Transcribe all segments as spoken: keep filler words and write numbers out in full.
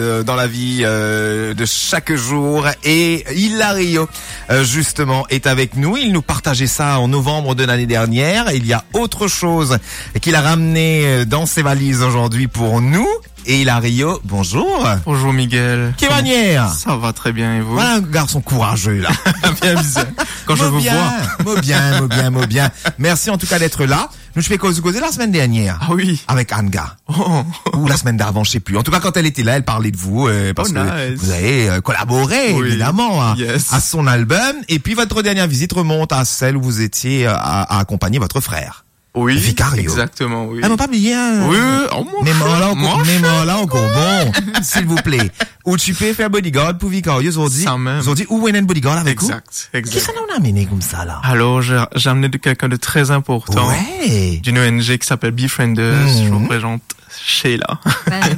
euh, dans la vie, euh, de chaque jour. Et Hilario, euh, justement, est avec nous. Il nous partageait ça en novembre de l'année dernière. Il y a autre chose qu'il a ramené, euh, dans ses valises aujourd'hui pour nous. Et Hilario, bonjour. Bonjour Miguel. Quelle manière ? Ça va très bien et vous ? Voilà un garçon courageux, là. Bien bizarre. Quand je vous vois. Mo bien, mo bien, mo bien. Merci en tout cas d'être là. Nou ti pe koz koze la semaine dernière. Ah oui. Avec Anga. Oh. Ou la semaine d'avant, je sais plus. En tout cas, quand elle était là, elle parlait de vous, euh, parce que vous avez, euh, collaboré, évidemment, à, à son album. Et puis, votre dernière visite remonte à celle où vous étiez, euh, à, à accompagner votre frère. Oui, Vicario. Exactement, oui. Ah, non, pa bliye, hein. Oui, oui, oh, mon chou, mon chou. Bon, s'il vous plaît. Ou ti pe fer bodyguard pou Vicario zordi. Sa mem. Zordi, ou ena enn bodyguard avek ou? Exact, exact. Kisa ou amenn koumsa la? Alors, j'ai, j'ai amené de quelqu'un de très important, d'une O N G qui s'appelle Befrienders. Je vous présente Sheila.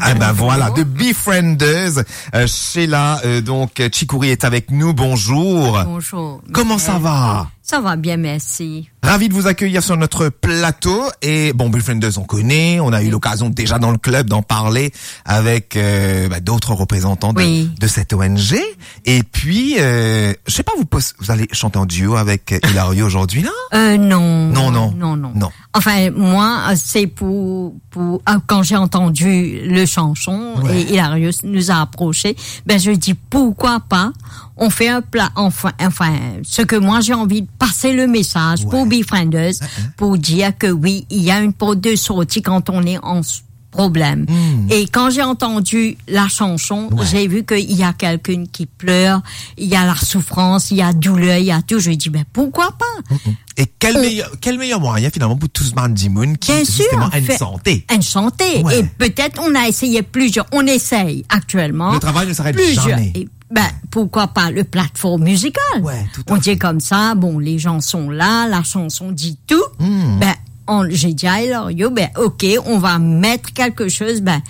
Ah ben voilà, de Befrienders. Euh, Sheila, euh, donc, euh, Chikouri est avec nous. Bonjour. Bonjour. Comment ça va? Ça va bien, merci. Ravi de vous accueillir sur notre plateau. Et bon, Befrienders, on connaît. On a eu l'occasion déjà dans le club d'en parler avec, euh, bah, d'autres représentants de, de cette O N G. Et puis, euh, je sais pas, vous pos-, vous allez chanter en duo avec, euh, Hilario aujourd'hui, là? Euh, non. Non, non. Non, non. Non. Enfin, moi, c'est pour, pour, ah, quand j'ai entendu le chanson, et Hilario nous a approché, ben, je dis, pourquoi pas, on fait un plat, enfin, enfin, ce que moi j'ai envie de passer le message pour Befrienders, pour dire que oui, il y a une porte de sortie quand on est en s-, problème. Et quand j'ai entendu la chanson, j'ai vu qu'il y a quelqu'un qui pleure, il y a la souffrance, il y a douleur, il y a tout. Je dis, ben, pourquoi pas? Et quel meilleur, quel meilleur moyen, finalement, pour tout bann dimoun ki, justement, enn sante? Bien sûr, faire enn sante. Et peut-être on a essayé plusieurs, on essaye actuellement. Le travail ne s'arrête jamais. Et, ben, pourquoi pas le plateforme musical? Ouais, tout à fait. On dit comme ça, bon, les gens sont là, la chanson dit tout. Ben, on, j'ai dit à Hilario, ben, ok, on va mettre quelque chose, ben,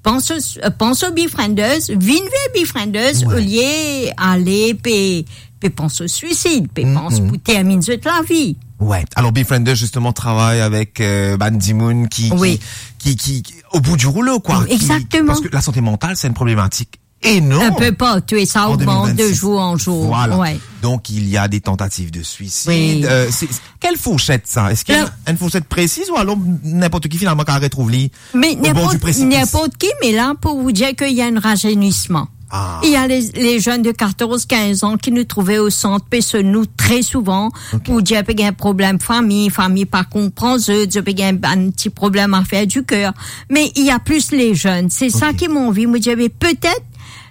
pans o, euh, pans o Befrienders, vinn ver Befrienders, olie ale pe, pe pans o suisid, pe pans pou terminn zot lavi. Ouais. Alors, Befrienders, justement, travaille avec, euh, bann dimoun ki, ki, ki, ki, ki, au bout du rouleau, quoi. Exactement. Parce que la santé mentale, c'est une problématique énorme. Un peu partout, et ça augmente de jour en jour. Voilà. Ouais. Donc, il y a des tentatives de suicide. Euh, c'est, c'est, quelle fourchette, ça? Est-ce qu'il y a une fourchette précise ou alors n'importe qui, finalement, qui retrouve li au bord du précipice? Mais n'importe, n'importe qui, mais là, pour vous dire qu'il y a un rajeunissement. Ah. Il y a les, les jeunes de quatorze, quinze ans qui nous trouvaient au centre, pe sonn nou très souvent, pour dire pe gagn problem fami, fami pa konpran zot, zot pe gagn bann ti problem afer di ker. Mais il y a plus les jeunes. C'est ça qui m'envie, mo dir, mais peut-être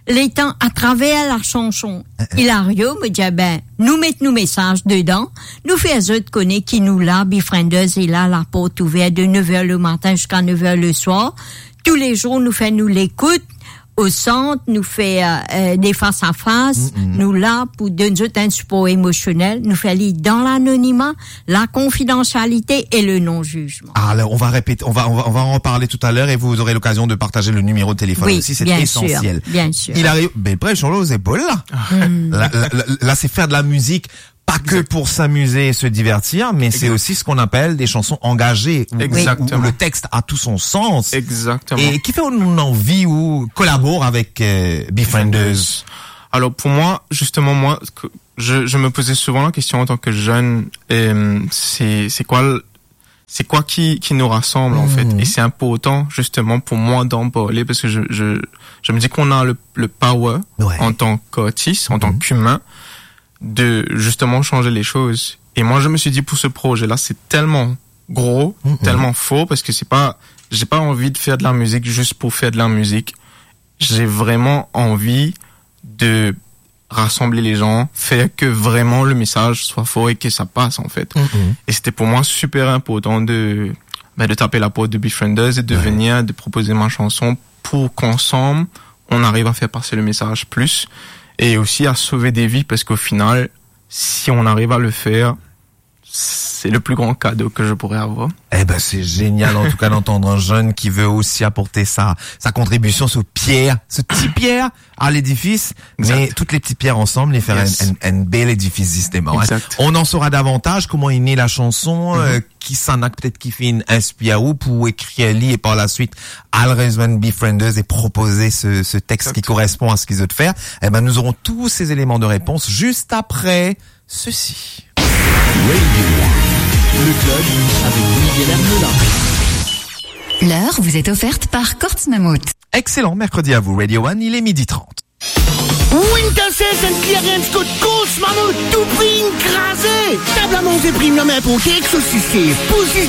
letan, atraver la chanson Hilario, mo dir, ben, nou met nou mesaz dedan, nou fer zot kone ki nou la, Befrienders est là, la porte ouverte de neuf heures le matin jusqu'à neuf heures le soir. Tous les jours, nou fer nou lekout, o sant, nou fer, euh, des face-à-face, nou la pou donn zot enn sipor emosionel, nou fer li dan lanonima, la confidentialité et le non-jugement. Alors, on va répéter, on va, on va, on va en parler tout à l'heure et vous aurez l'occasion de partager le numéro de téléphone aussi, c'est essentiel. Oui, bien sûr, bien sûr. Il arrive, ben, après, sur les épaules, là. Là, là, là, là, c'est faire de la musique, pas que pour s'amuser et se divertir, mais c'est aussi ce qu'on appelle des chansons engagées, où, où, où le texte a tout son sens. Exactement. Et qui fait qu'on a envie ou collabore avec, euh, Befrienders. Alors, pour moi, justement, moi, ce que je, je me posais souvent la question en tant que jeune, euh, c'est, c'est quoi le, c'est quoi qui, qui nous rassemble, en fait. Et c'est important, justement, pour moi d'en parler parce que je, je, je me dis qu'on a le, le power en tant qu'artiste, en tant qu'humain, de justement changer les choses. Et moi, je me suis dit, pour ce projet-là, c'est tellement gros, tellement fort, parce que c'est pas, j'ai pas envie de faire de la musique juste pour faire de la musique. J'ai vraiment envie de rassembler les gens, faire que vraiment le message soit fort et que ça passe, en fait. Et c'était pour moi super important de, ben, de taper la porte de Befrienders et de venir, de proposer ma chanson pour qu'ensemble, on arrive à faire passer le message plus et aussi à sauver des vies, parce qu'au final, si on arrive à le faire, c'est le plus grand cadeau que je pourrais avoir. Eh ben, c'est génial, en tout cas, d'entendre un jeune qui veut aussi apporter sa, sa contribution, ce pierre, ce petit pierre à l'édifice, mais toutes les petites pierres ensemble, les faire un, un, un bel édifice, justement, hein. Exact. On en saura davantage, comment est née la chanson, euh, qui s'en a peut-être qui fait une inspire ou pour écrire li et par la suite, Always Befrienders et proposer ce, ce texte qui correspond à ce qu'ils veulent faire. Eh ben, nous aurons tous ces éléments de réponse juste après ceci. Radio One, le club avec Miguel Arnola. L'heure vous est offerte par Courts Mammouth. Excellent mercredi à vous, Radio One, il est midi trente. Winter Sales and Clearance kot Courts Mammouth, tou pri kraze. Tab a manze premium inporte ek sosis, pou zis